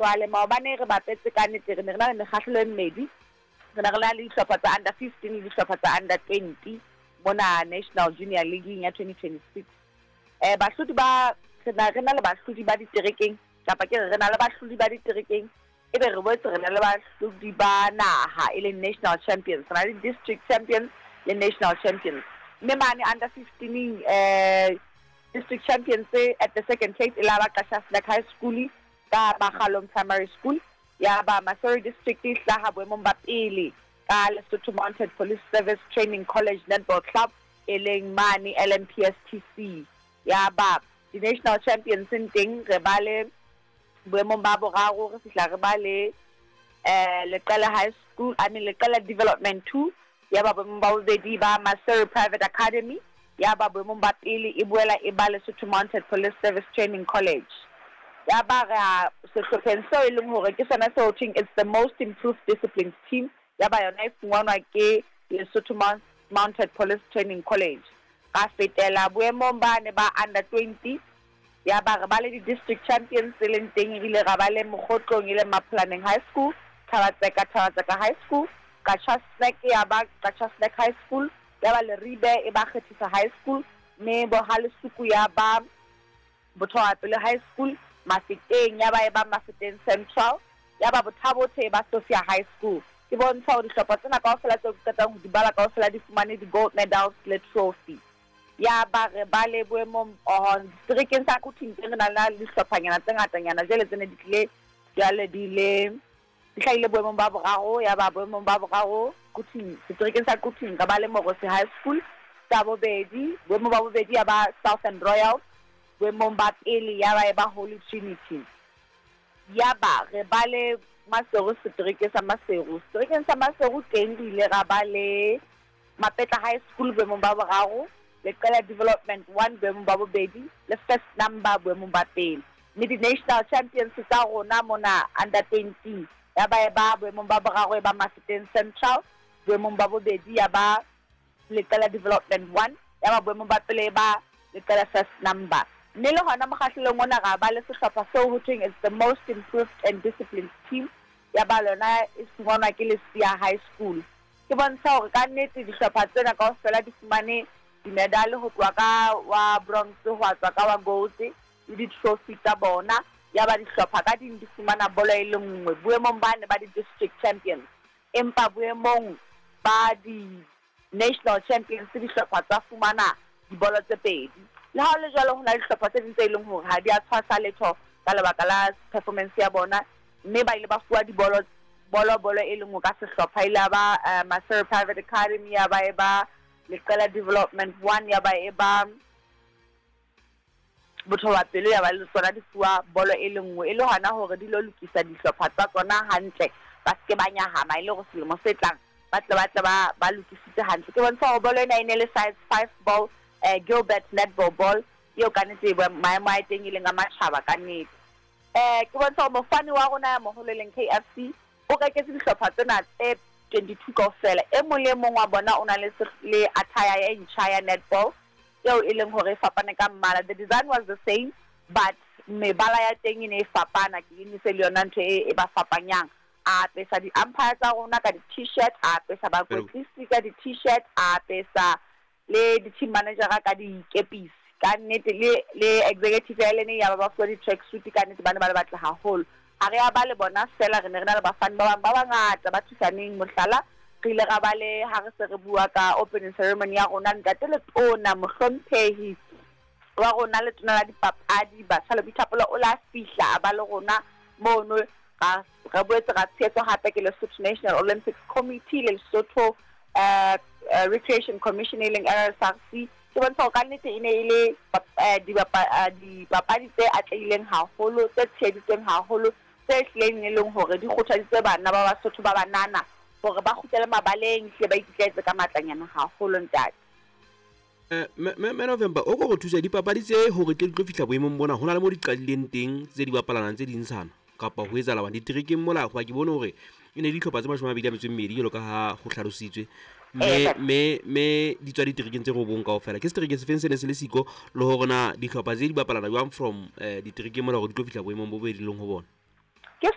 Jwale maobane re bapetse ka nnete re ne re na le mekgahlelo e mmedi. Re ne re na le dihlopha tsa under 15 le dihlopha tsa under 20 mona National Junior League ya 2026. Bahlodi ba re na re na le bahlodi ba diterekeng kapa ke re re na le bahlodi ba diterekeng ebe re boetse re na le bahlodi ba naha e leng national champions. Re na le district champions le national champions. Mme mane under 15 district champions at the second place e la ba Qasha Snack High School ka Makgalong Primary School. Ya ba Maseru District e hlaha boemong ba pele ka Lesotho Mounted Police Service Training College Netball Club e leng mane LMPSTC. Ya ba di-national champions teng re ba le boemong ba boraro re fihla re ba le Leqele High School, I mean Leqele Development 2, ya ba boemong ba bobedi ba Maseru Private Academy, ya ba boemong ba pele e boela e ba Lesotho Mounted Police Service Training College. Ya ba re a sehlopheng seo e leng hore ke sona seo thweng it's the most improved disciplined team, ya ba yona e fumanwa ke Lesotho Mounted Police Training College. Ra fetela boemong ba ne ba under 20, ya ba re ba le di-district champions tse leng teng, ebile ra ba le Mokgotlong e leng Mapholaneng High School, Thabatseka, Thabatseka High School, Qacha Snack ya ba Qacha Snack High School, ya ba Leribe e ba Kgethisa High School, mme Bohalesuku ya ba Bothawapele High School, Mafeteng ya ba e ba Mafeteng Central, ya ba Bothabothe e ba Sophia High School. Ke bontsha hore dihlopha tsena kaofela tseo ke qetang ho di bala kaofela di fumane di-gold medals le trophy. Ya ba re ba le boemong seterekeng sa Quthing teng re na le dihlophanyana tse ngatanyana jwale tse ne di tlile jwale di le di hlahile boemong ba boraro. Ya ba boemong ba boraro Quthing, seterekeng sa Quthing re ba le Morosi High School. Sa bobedi, boemong ba bobedi ya ba Southern Royals, boemong ba pele ya ba e ba Holy Trinity. Ya ba re ba le Maseru, setereke sa Maseru. Seterekeng sa Maseru teng re ile ra ba le Mapetla High School boemong ba boraro, Leqela Development 1 boemong ba bobedi, le First Number boemong ba pele. Mme di-national champions tsa rona mona under 20 ya ba e ba boemong ba boraro e ba Mafeteng Central, boemong ba bobedi ya ba Leqela Development 1, ya ba boemong ba pele e ba Leqela First Number. Mme le hona mokgahlelong ona ra ba le sehlopha seo ho thweng it's the most improved and disciplined team, ya ba lona e fumanwa ke Lesia High School. Ke bontsha hore ka nnete dihlopha tsena kaofela di fumane di-medal ho tloha ka wa bronze ho tswa ka wa gold le di-trophy tsa bona. Ya ba dihlopha ka ding di fumana bolo e le nngwe boemong ba ne ba di-district champions, empa boemong ba di-national champions dihlopha tsa fumana dibolo tse pedi. Le ha ho le jwalo, ho na le dihlopha tse ding tse leng hore ha di a tshwasa letho ka lebaka la performance ya bona, mme ba ile ba fuwa dibolo bolo bolo e leng ka sehlopha. Ile ba Maseru Private Academy, ya ba e ba Leqela Development 1, ya ba e ba Bothobapelo, ya ba le tsona di fuwa bolo e le nngwe, e le hona hore di lo lokisa dihlopha tsa tsona hantle, ba seke ba nyahama, e le hore selemo se tlang ba tle ba lokisitse hantle. Ke bontsha hore bolo ena e ne le size 5 ball, Gilbert netball ball eo ka nnete maemo a teng e leng a matjhaba ka nnete. Ke bontsha hore mofani wa rona ya moholo e leng KFC o reketse dihlopha tsena tse 22 kaofela. E mong le mong wa bona o na le le attire e ntjha ya netball eo e leng hore e fapane ka mmala. The design was the same, but mebala ya teng e ne e fapana. Ke e se le yona ntho e ba fapanyang. A apesa di-umpire tsa rona ka di-t-shirt, a apesa bakwetlisi ka di-t-shirt, a apesa le di-team manager ka dikepisi. Ka nnete le executive ya lene ya ba ba fuwa di-track suit, ka nnete ba ne ba le batle haholo. Ha re ya ba le bona fela, re ne re na le bafani ba bang ba bangata ba thusaneng. Mohlala, re ile ra ba le ha re se re bua ka opening ceremony ya rona, ntate Letona mohlomphehi wa rona Letona la dipapadi, batjha le boithapolo o la fihla a ba le rona mono. Re boetse ra tshehetswa hape ke Lesotho National Olympics Committee le Lesotho Recreation Commission e leng RSRC. Ke bontsha hore ka nnete e ne e le dipapadi tse atlehileng haholo, tse tsheheditsweng haholo, tse hlileng e leng hore di kgothaditse bana ba Basotho ba banana hore ba kgutlele mabaleng, hle ba ikitlaetse ka matlanyana haholo ntate. Me November o go thusa dipapadi tse hore tle di tlo fihla boemong bona, ho na le mo di qadileng teng tse di bapalanang tse ding sana kapa ho etsahala bang diterekeng mola, hoba ke bone hore e ne dihlopha tse 22 jwalo ka ha ho hlalositswe, mme di tswa diterekeng tse robong kaofela. Ke setereke se feng se ne se le siko, le hore na dihlopha tse di bapalana jwang from diterekeng mola hore di tlo fihla boemong bo bo di leng ho bona?